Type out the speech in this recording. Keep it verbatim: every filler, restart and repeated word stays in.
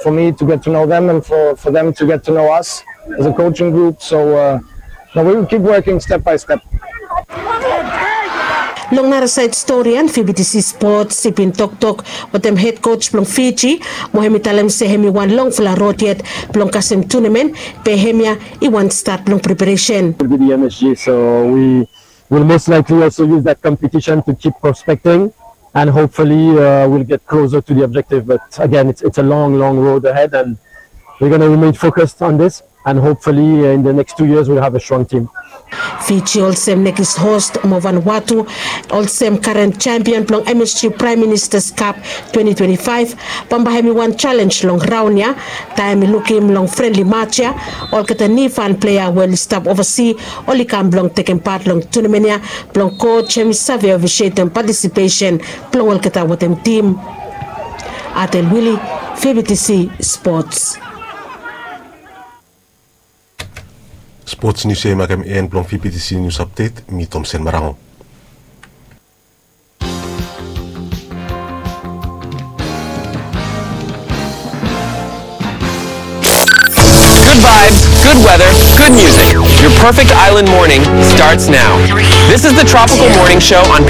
for me to get to know them and for, for them to get to know us as a coaching group. So uh, now we will keep working step by step. Long nara saed stori ia, VBTC Sports i bin toktok wetem hed koj blong Fiji, mo hem i talem se hem i wan longfala rod yet blong kasem tunamen, be hemia i wan stat blong preparesen. Will be the M S G, so we will most likely also use that competition to keep prospecting, and hopefully uh, we'll get closer to the objective. But again, it's, it's a long, long road ahead, and we're going to remain focused on this. And hopefully uh, in the next two years we'll have a strong team. Fiji olsem nekis host mo Vanuatu olsem karen sempion blong MSG Prime Minister's Cup twenty twenty-five, bambae hem i wan jalenj long raon ia. Taem i lukim long frenli maj ia, olgeta nifan plea we oli stap ovasi oli kam blong tekem pat long tunamen ia, blong koj hem i save ofisietem patisipesen blong olgeta wetem tim. Atel Wili, VBTC Sports. Spots nius ia i makem en blong VBTC nius apdet. Mi Tomsen Marango. Good vibes, good weather, good music. Your perfect island morning starts now. This is the Tropical Morning Show on